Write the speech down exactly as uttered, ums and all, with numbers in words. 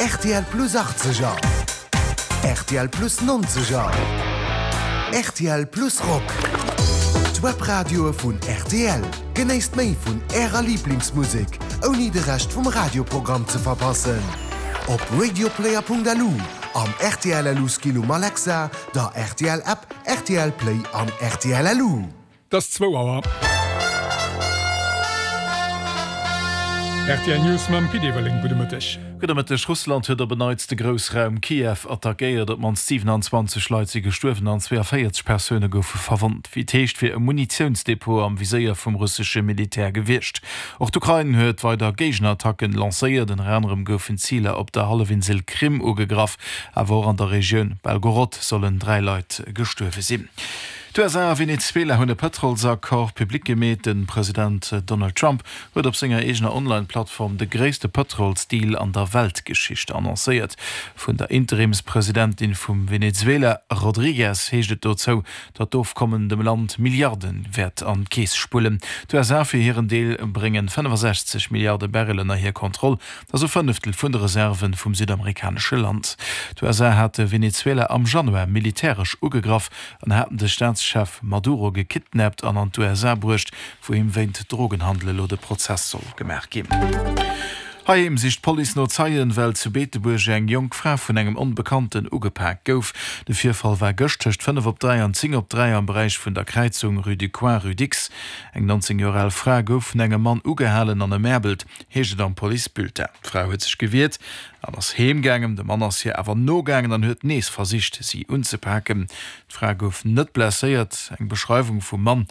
R T L Plus achtzeger, R T L Plus nonzeger, R T L Plus Rock. D'Webradioe vun R T L. Genéisst méi vun Ärer Liblingsmusek, ouni de Rescht vum Radioprogramm ze verpassen. Op radioplayer Punkt L U, am R T L L U Skill um Alexa, der R T L App, R T L Play an R T L L U. Et ass zwou Auer. R T L News mam Pit Everling. Gudde Mëtteg. Gudde Mëtteg. Russland huet op en Neits de Groussraum Kiew attackéiert. Op d'mannst siewenanzwanzeg Leit si gestuerwen an zweeënvéierzeg Persoune goufe verwonnt. Wéi et heescht, wier e Munitiounsdepot am Viséier vum russesche Militär gewiescht. Och d'Ukrain huet weider Géigenattacken lancéiert. Ënner anerem goufen Ziler op der Hallefinsel Krim ugegraff, awer och an der Regioun Belgorod sollen dräi Leit gestuerwe sinn. D'U S A a Venezuela hunn e Pëtrolsaccord public gemeet. De President Donald Trump huet op senger eegener Online-Plattform de gréisste Pëtrolsdeal an der Weltgeschicht annoncéiert. Vun der Interimspresidentin vum Venezuela, Rodriguez, heescht et dozou, datt d'Ofkommen dem Land Milliarde wäert an d'Keess spullen. D'U S A fir hiren Deel bréngen fënnefasechzeg Milliarde Barrel ënner hir Kontroll, dat ass e Fënneftel vun de Reserve vum südamerikanesche Land. D'U S A hate Venezuela am Januar militäresch ugegraff an haten de Staatschef Maduro gekidnappt an an d'U S A bruecht, wou him wéint Drogenhandel elo de Prozess soll gemaach ginn. Heiheem sicht d'Police no Zeien, well zu Beetebuerg eng jonk Fra vun engem Onbekannten ugepak gouf. De Virfall war gëscht tëscht fënnef op dräi an zéng op dräi am Beräich vun der Kräizung Rue du Coin, Rue Dicks. Eng nonzéng Joer al Fra gouf vun engem Mann ugehalen an emäerbelt, heescht et am Policebulletin. D'Fra huet sech gewiert an ass heem gaangen. De Mann ass hir awer nogaangen an huet nees versicht, si unzepaken. D'Fra gouf net blesséiert. Eng Beschreiwung vum Mann